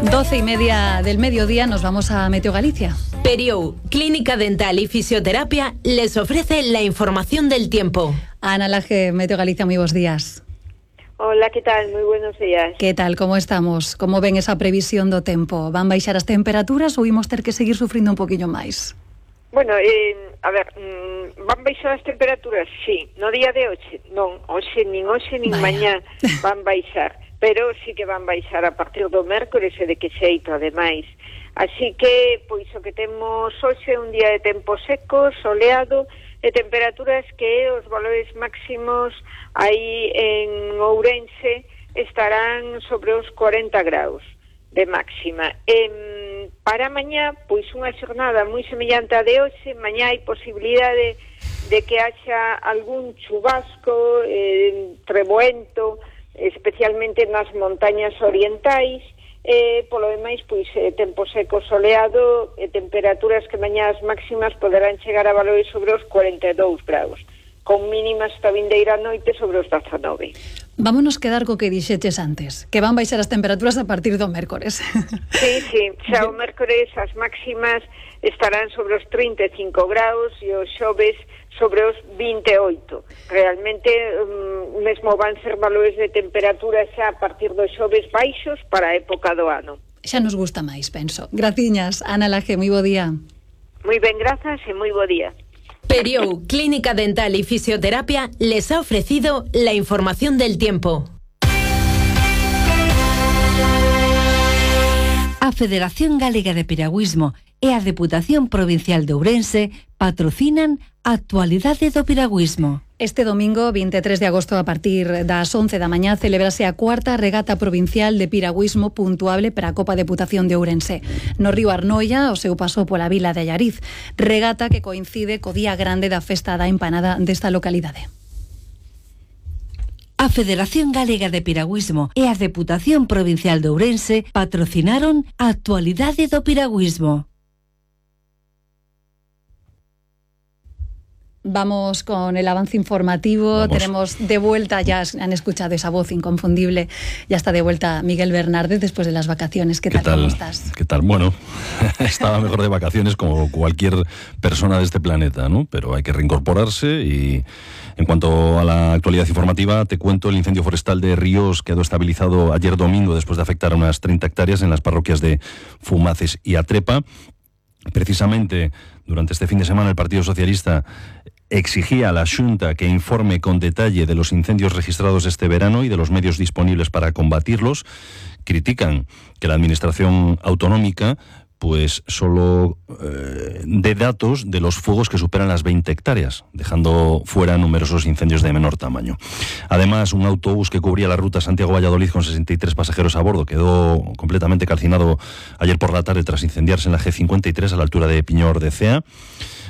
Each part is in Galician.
12:30 del mediodía nos vamos a Meteo Galicia. Periou, Clínica Dental y Fisioterapia, les ofrece la información del tiempo. Ana Laje, Meteo Galicia, muy buenos días. Hola, que tal? Moi buenos días. Que tal, como estamos? Como ven esa previsión do tempo? Van baixar as temperaturas ou imos ter que seguir sufrindo un poquinho máis? Bueno, van baixar as temperaturas, sí. No día de hoxe, non. Hoxe nin mañá van baixar. Pero sí que van baixar a partir do mércores e de que xeito, ademais. Así que, pois, o que temos hoxe un día de tempo seco, soleado, e temperaturas que os valores máximos aí en Ourense estarán sobre os 40 graus de máxima. Para mañá, pois unha xornada moi semellante a de hoxe. Mañá hai posibilidade de que haxa algún chubasco, treboento, especialmente nas montañas orientais. Polo demais, pois, tempo seco soleado e temperaturas que mañá as máximas poderán chegar a valores sobre os 42 graus, con mínimas esta vindeira noite sobre os 19. Vámonos quedar co que dixeches antes, que van baixar as temperaturas a partir do mércores. Sí, xa o mércores as máximas estarán sobre os 35 graus e os xoves sobre os 28. Realmente, mesmo van ser valores de temperatura xa a partir dos xoves baixos para a época do ano. Xa nos gusta máis, penso. Graciñas, Ana Laje, moi bo día. Moi ben, grazas e moi bo día. Periou, Clínica Dental y Fisioterapia, les ha ofrecido la información del tiempo. A Federación Galega de Piragüismo e a Deputación Provincial de Ourense patrocinan a Actualidade do Piragüismo. Este domingo, 23 de agosto, a partir das 11 da mañá, celebrase a cuarta regata provincial de piragüismo puntuable para a Copa Deputación de Ourense. No río Arnoia, o seu paso pola vila de Allariz. Regata que coincide co día grande da festa da empanada desta localidade. A Federación Galega de Piragüismo e a Deputación Provincial de Ourense patrocinaron a Actualidade do Piragüismo. Vamos con el avance informativo. Tenemos de vuelta, ya han escuchado esa voz inconfundible, ya está de vuelta Miguel Bernárdez después de las vacaciones. ¿Qué tal? ¿Cómo estás? ¿Qué tal? Bueno, estaba mejor de vacaciones como cualquier persona de este planeta, ¿no? Pero hay que reincorporarse y en cuanto a la actualidad informativa, te cuento el incendio forestal de Ríos quedó estabilizado ayer domingo después de afectar a unas 30 hectáreas en las parroquias de Fumaces y Atrepa. Precisamente durante este fin de semana el Partido Socialista exigía a la Xunta que informe con detalle de los incendios registrados este verano y de los medios disponibles para combatirlos. Critican que la Administración autonómica pues solo dé datos de los fuegos que superan las 20 hectáreas, dejando fuera numerosos incendios de menor tamaño. Además, un autobús que cubría la ruta Santiago-Valladolid con 63 pasajeros a bordo quedó completamente calcinado ayer por la tarde tras incendiarse en la G53 a la altura de Piñor de Cea.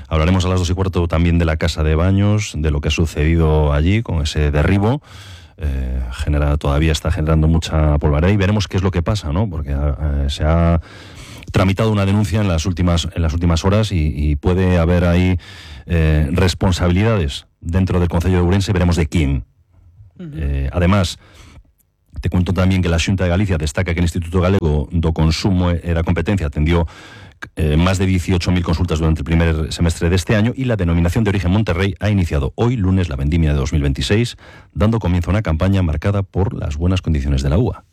Hablaremos a las 2:15 también de la casa de baños, de lo que ha sucedido allí con ese derribo. Todavía está generando mucha polvareda y veremos qué es lo que pasa, ¿no? Porque se ha tramitado una denuncia en las últimas horas y puede haber ahí responsabilidades dentro del Concello de Ourense, veremos de quién. Además, te cuento también que la Xunta de Galicia destaca que el Instituto Galego do Consumo e da Competencia atendió más de 18.000 consultas durante el primer semestre de este año y la denominación de origen Monterrey ha iniciado hoy, lunes, la vendimia de 2026, dando comienzo a una campaña marcada por las buenas condiciones de la uva.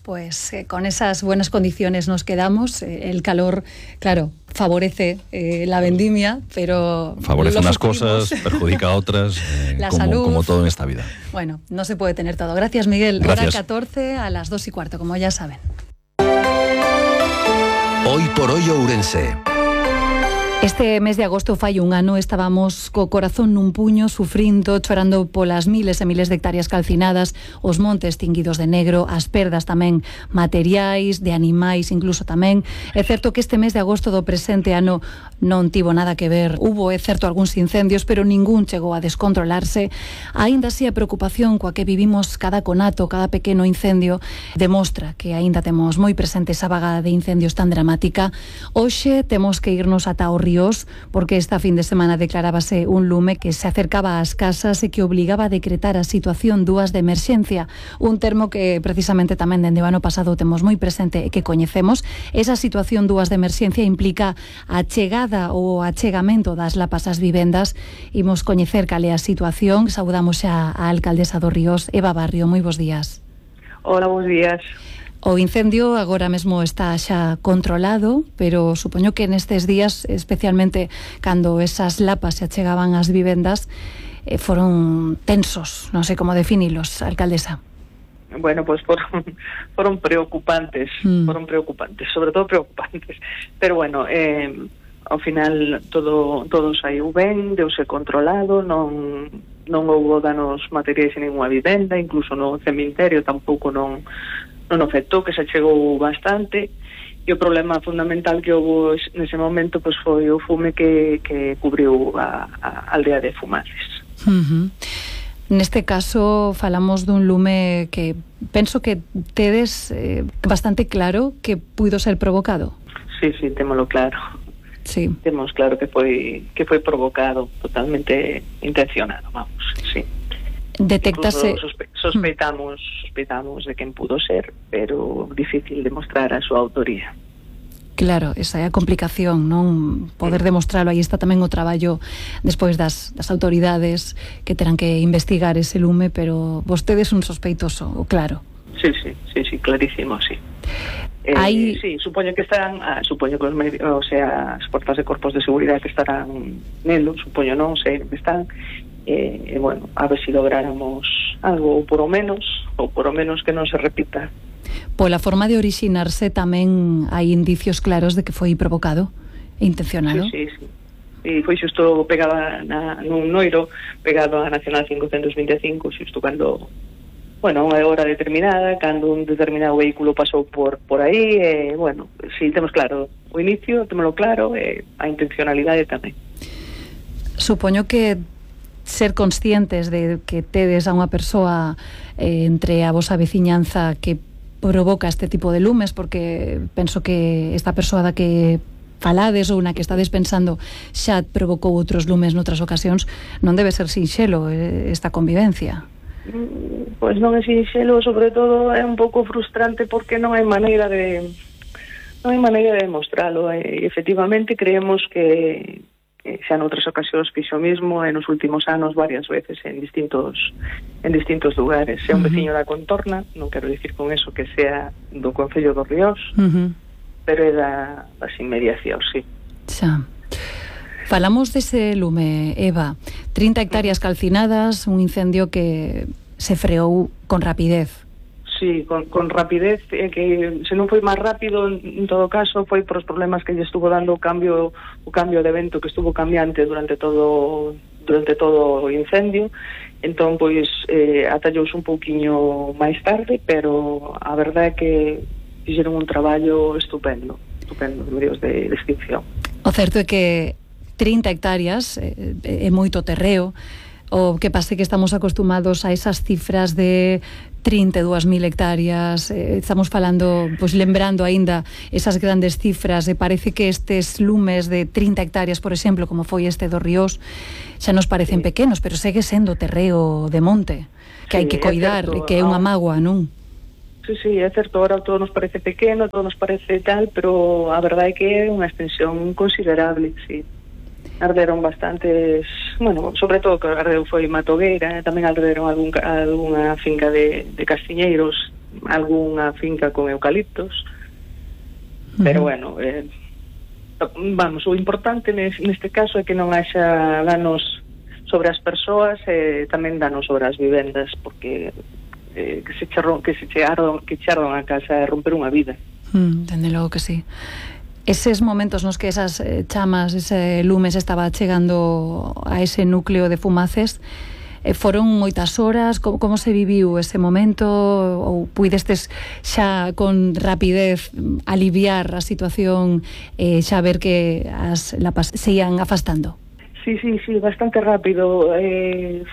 Pues con esas buenas condiciones nos quedamos. El calor, claro, favorece la vendimia, pero favorece unas cosas, perjudica a otras, como todo en esta vida. Bueno, no se puede tener todo. Gracias, Miguel. Gracias. Hora 14 a las 2:15, como ya saben. Hoy por hoy Ourense. Este mes de agosto fai un ano, estábamos co corazón nun puño, sufrindo, chorando polas miles e miles de hectáreas calcinadas, os montes tinguidos de negro, as perdas tamén materiais, de animais incluso tamén. É certo que este mes de agosto do presente ano non tivo nada que ver. Hubo, é certo, algúns incendios, pero ningún chegou a descontrolarse. Aínda así a preocupación coa que vivimos cada conato, cada pequeno incendio, demostra que aínda temos moi presente esa vaga de incendios tan dramática. Hoxe temos que irnos ata o Ríos, porque esta fin de semana declarábase un lume que se acercaba ás casas e que obligaba a decretar a situación 2 de emerxencia, un termo que precisamente tamén dende o ano pasado temos moi presente e que coñecemos. Esa situación 2 de emerxencia implica a chegada ou achegamento das lapas ás vivendas. Imos coñecer cal é a situación. Saudamos xa a alcaldesa do Ríos, Eva Barrio. Moi bons días. Hola, bons días. O incendio agora mesmo está xa controlado, pero supoño que nestes días, especialmente cando esas lapas se achegaban ás vivendas, foron tensos, non sei como definilos, alcaldesa. Bueno, pues foron preocupantes, sobre todo preocupantes, pero bueno, ao final todo saiu ben, deuse controlado, non houbo danos materiais en ninguna vivenda, incluso no cemiterio tampouco non afectou, que se chegou bastante, e o problema fundamental que houve nese momento pues foi o fume que cubriu a aldea de Fumaces. Neste caso falamos dun lume que penso que tedes bastante claro que puido ser provocado. Sí, témolo claro. Sí. Temos claro que foi provocado, totalmente intencionado, vamos, sí. Detectase... Sospeitamos de quen pudo ser, pero difícil demostrar a súa autoría. Claro, esa é a complicación, non poder demostralo. Aí está tamén o traballo despois das autoridades que terán que investigar ese lume, pero vostede é un sospeitoso, claro. Sí, clarísimo, sí. Sí, supoño que estarán, supoño que as forzas de corpos de seguridade que estarán nelo, supoño non sei que están, bueno, a ver se lográramos algo, ou por o menos que non se repita. Pola forma de orixinarse tamén hai indicios claros de que foi provocado e intencionado. Sí. E foi xusto pegado nun noiro, pegado a Nacional 525, xusto cando, bueno, unha hora determinada, cando un determinado vehículo pasou por aí, bueno, si temos claro o inicio, temoslo claro, a intencionalidade tamén. Supoño que ser conscientes de que tedes a unha persoa entre a vosa veciñanza que provoca este tipo de lumes, porque penso que esta persoa da que falades ou na que estades pensando xa provocou outros lumes noutras ocasións, non debe ser sinxelo esta convivencia. Pois non é sinxelo, sobre todo é un pouco frustrante porque non hai maneira de demostralo, e efectivamente creemos que xa noutras ocasións fixo mismo e nos últimos anos varias veces en distintos lugares. É un veciño da contorna, non quero dicir con eso que sea do Concello do Ríos, pero é das inmediacións, sí. Xa. Falamos dese lume, Eva, 30 hectáreas calcinadas, un incendio que se freou con rapidez. Sí, con rapidez, que se non foi máis rápido, en todo caso, foi por os problemas que lle estuvo dando o cambio de vento, que estuvo cambiante durante todo o incendio. Entón, pois, atallouse un pouquiño máis tarde, pero a verdade é que fixeron un traballo estupendo de medios de extinción. O certo é que 30 hectáreas é moito terreo. O que pase que estamos acostumados a esas cifras de 32.000 hectáreas, estamos falando, pois lembrando aínda esas grandes cifras, e parece que estes lumes de 30 hectáreas, por exemplo, como foi este do Ríos, xa nos parecen pequenos, pero segue sendo terreo de monte, que hai que coidar, e que é unha mágoa, non? Sí, é certo, ahora todo nos parece pequeno, todo nos parece tal, pero a verdade é que é unha extensión considerable, sí. Arderon bastantes, bueno, sobre todo que ardeu foi Matogueira, tamén arderon algunha finca de castiñeiros, algunha finca con eucaliptos, pero bueno, vamos, o importante neste caso é que non haxa danos sobre as persoas e tamén danos sobre as vivendas, porque que che ardan a casa e romper unha vida. Dende logo que sí. Eses momentos nos que esas chamas, ese lume se estaba chegando a ese núcleo de Fumaces, foron moitas horas, como se viviu ese momento, ou puidestes xa con rapidez aliviar a situación, xa ver que as lapas se ian afastando? Sí, bastante rápido.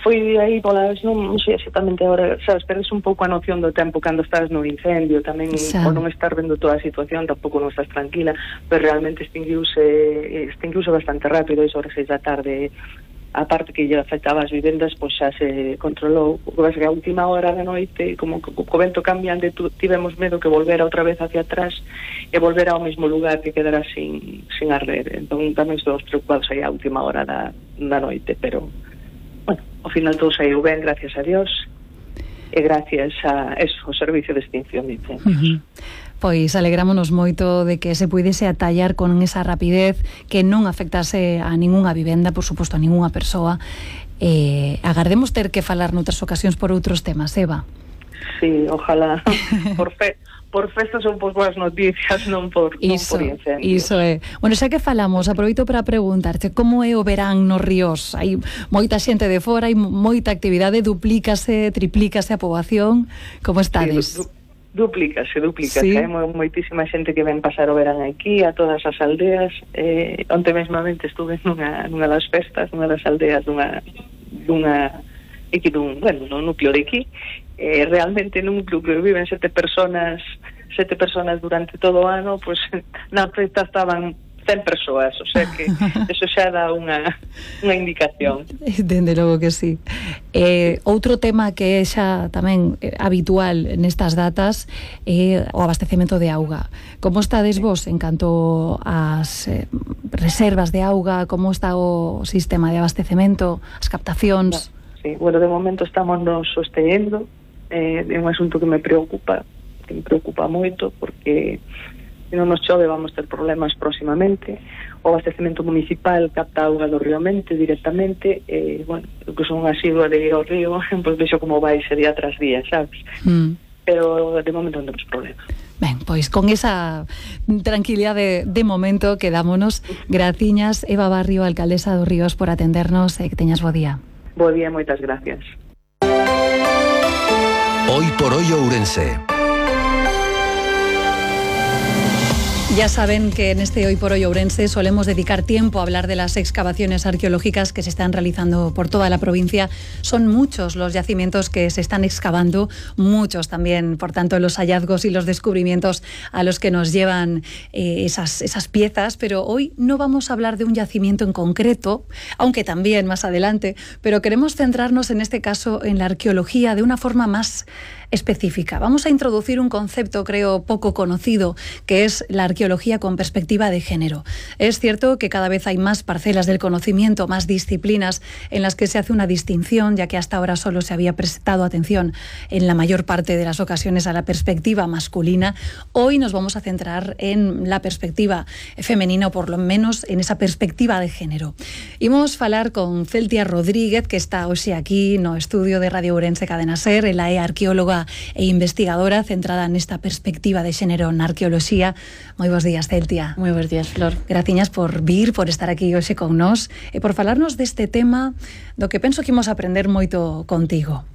Foi aí polas, non sei exactamente agora, sabes, perdes un pouco a noción do tempo cando estás no incendio, tamén por non estar vendo toda a situación, tampouco non estás tranquila, pero realmente extinguiuse bastante rápido, e sobre 6 da tarde, a parte que lle afectaba as vivendas, pois xa se controlou. O que pasa que a última hora da noite, como co vento cambiante, tivemos medo que volvera outra vez hacia atrás e volver ao mesmo lugar, que quedara sin arder. Entón tamén estamos preocupados aí a última hora da noite, pero bueno, ao final todo saiu ben, gracias a Dios, e gracias a eso, o servicio de extinción de incendios. Pois alegrámonos moito de que se puidese atallar con esa rapidez, que non afectase a ningunha vivenda, por suposto a ningunha persoa. Agardemos ter que falar noutras ocasións por outros temas, Eva. Sí, ojalá. Por festas son por boas noticias, non por incendios. Iso é. Bueno, xa que falamos, aproveito para preguntarte como é o verán nos ríos. Hai moita xente de fora, hai moita actividade, duplícase, triplícase a poboación. Como estades? Sí, duplícase. Sí. Hai moitísima xente que ven pasar o verán aquí, a todas as aldeas. Onte mesmamente estuve nunha das festas, nunha das aldeas aquí dun núcleo de aquí. Realmente nun núcleo que viven 7 personas durante todo o ano, pois na festa estaban 100 persoas, o sea que eso xa dá unha indicación. Dende logo que sí. Outro tema que é xa tamén habitual nestas datas é o abastecemento de auga. Como estades vos en canto ás reservas de auga? Como está o sistema de abastecemento, as captacións? Sí, bueno, de momento estamos nos sosteniendo. É un asunto que me preocupa moito, porque se non nos chove vamos ter problemas próximamente. O abastecemento municipal capta auga do río Mente directamente, bueno, que son asidua de ir ao río, pois vexo como vai ese día tras día, sabes? Pero de momento non temos problema. Ben, pois con esa tranquilidade de momento quedámonos. Graciñas, Eva Barrio, alcaldesa dos Ríos, por atendernos e que teñas bo día. Bo día, moitas gracias. Hoy por hoy Ourense. Ya saben que en este Hoy por Hoy Ourense solemos dedicar tiempo a hablar de las excavaciones arqueológicas que se están realizando por toda la provincia. Son muchos los yacimientos que se están excavando, muchos también, por tanto, los hallazgos y los descubrimientos a los que nos llevan esas piezas, pero hoy no vamos a hablar de un yacimiento en concreto, aunque también más adelante, pero queremos centrarnos en este caso en la arqueología de una forma más específica. Vamos a introducir un concepto, creo, poco conocido, que es la arqueología con perspectiva de género. Es cierto que cada vez hay más parcelas del conocimiento, más disciplinas en las que se hace una distinción, ya que hasta ahora solo se había prestado atención en la mayor parte de las ocasiones a la perspectiva masculina. Hoy nos vamos a centrar en la perspectiva femenina, o por lo menos en esa perspectiva de género. Imos falar con Celtia Rodríguez, que está hoxe aquí no estudio de Radio Ourense Cadena Ser. Ela é arqueóloga e investigadora centrada nesta perspectiva de xénero na arqueoloxía. Moi bons días, Celtia. Moi bons días, Flor. Graciñas por vir, por estar aquí hoxe con nós e por falarnos deste tema do que penso que imos aprender moito contigo.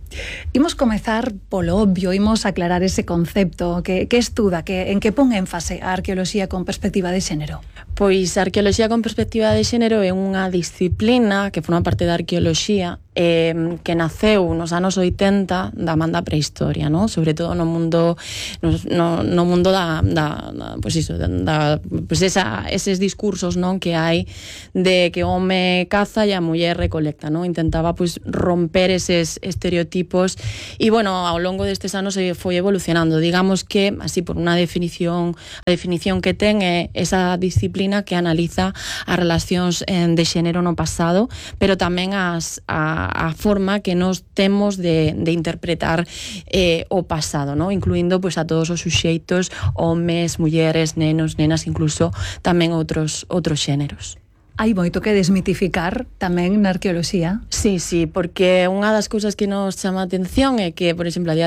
Imos comezar polo obvio, imos aclarar ese concepto que estuda, en que pon énfase a arqueoloxía con perspectiva de xénero. Pois a arqueoloxía con perspectiva de xénero é unha disciplina que forma parte da arqueoloxía que naceu nos anos 80 da man da prehistoria, ¿no? Sobre todo no mundo eses discursos, non, que hai de que o home caza e a muller recolecta, ¿no? Intentaba pois romper eses estereotipos e bueno, ao longo destes anos se foi evolucionando. Digamos que así por unha definición, a definición que ten é esa disciplina que analiza as relacións de xénero no pasado, pero tamén a forma que nos temos de interpretar o pasado, ¿no? Incluindo pois a todos os suxeitos, homes, mulleres, nenos, nenas, incluso tamén outros xéneros. Hai moito que desmitificar tamén na arqueoloxía. Sí, porque unha das cousas que nos chama a atención é que, por exemplo, a día